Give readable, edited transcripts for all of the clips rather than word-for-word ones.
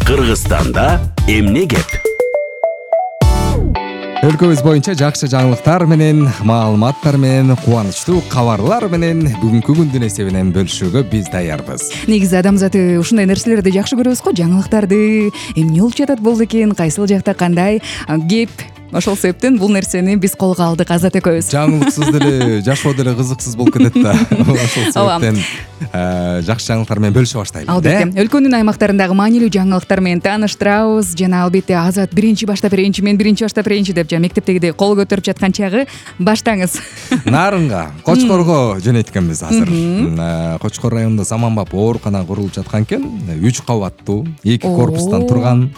Кыргызстанда эмне кеп? Өлкөбүз боюнча жакшы жаңылыктар менен, маалыматтар менен, кубанычтуу кабарлар менен бүгүнкү күндүн эсебинен бөлүшүүгө биз даярбыз. Негизи адамзаты ушундай нерселерди жакшы көрөбүз го, жаңылыктарды. Эмне болуп жатат болду экен, кайсыл жакта кандай кеп. Ошол себептен бул нерсени биз колго алдык Азат экөөбүз. Жаңылыксыз деле жашоо деле кызыксыз болуп кетет да. Ошол себептен жакшы жаңылыктар менен бөлүшө баштайлы. Албетте. Өлкөнүн аймактарындагы маанилүү жаңылыктар менен тааныштырабыз. Жана албетте Азат биринчи баштап берейинчи, мен биринчи баштап берейинчи деп мектептегидей кол көтөрүп жаткан чагы баштаңыз. Нарынга, Кочкорго жөнөйткөнбүз азыр. Кочкор районунда заманбап оорукана курулуп жаткан экен. 3 кабаттуу, 2 корпустан турган.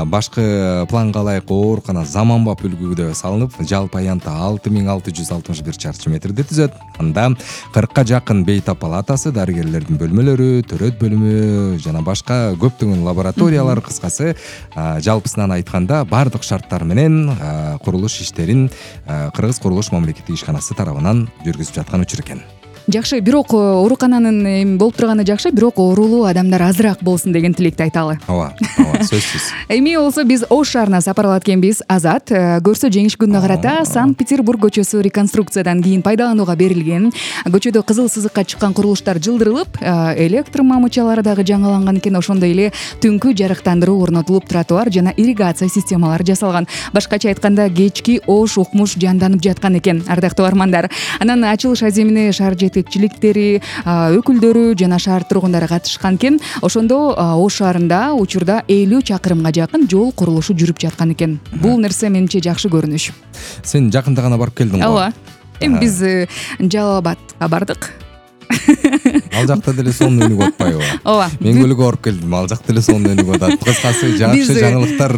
Башкы планга ылайык оорукана заманбап үлгүдө салынып, жалпы аянты 6661 чарчы метрди түзөт. Анда 40ка жакын бейтап палатасы, дарыгерлердин бөлмөлөрү, төрөт бөлүмү жана башка көптөгөн лабораториялар, кыскасы жалпысынан айтканда бардык шарттар менен курулуш иштерин Кыргыз курулуш мамлекеттик ишканасы тарабынан жүргүзүп жаткан учур экен. Жакшы, бирок оорукананын эми болуп турганы жакшы, бирок оорулуу адамдар азыраак болсун деген тилекти айталы. Ооба, сөзсүз. Эми болсо биз Ош шаарына сапарлап аткенбиз. Азат көрсө жеңиш күнүнө карата Санкт-Петербург көчөсү реконструкциядан кийин пайдаланууга берилген. Көчөдө кызыл сызыкка чыккан курулуштар жылдырылып, электр мамычалары дагы жаңыланган экен. Ошондой эле түнкү жарыктандыруу орнотулуп, тротуар жана ирригация системалары жасалган. Башкача айтканда, кечки Ош укмуш жанданып жаткан экен, ардактуу армандар. Анан ачылыш аземине шаар жетекчиликтери, өкүлдөрү жана шаар тургундары катышкан экен. Ошондо Ош шаарында учурда 50 чакырымга жакын жол курулушу жүрүп жаткан экен. Бул нерсе менимче жакшы көрүнүш. Сен жакында гана барып келдиң го. Ооба. Эми биз Жалал Абадка бардык. Ал жакта деле сонун өнүгүп атпайбы? Ооба. Мен көлгө барып келдим, ал жакта деле сонун өнүгүп атат. Кыскасы жакшы жаңылыктар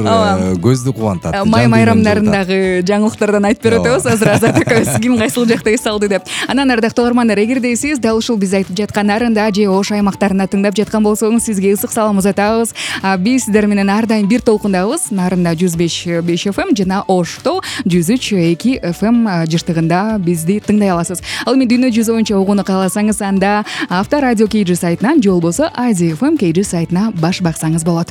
көздү кубантат. Май майрамдарындагы жаңылыктардан айтып берип атабыз азыр Азат экөөбүз ким кайсыл жакта эс алды деп. Анан ардактуу армандар, эгерде сиз дал ушул биз айтып жаткан Нарында же Ош аймактарында тыңдап жаткан болсоңуз, сизге ысык салам узатабыз. Биз сиздер менен ар дайым бир толкундабыз. Нарында 105.5 FM жана Ошто 103.2 FM жыштыгында бизди тыңдай аласыз. Ал эми дүйнө жүзү боюнча угууну кааласаңыз, анда Авторадио KG сайтынан же болбосо AZFM KG сайтына баш баксаңыз болот.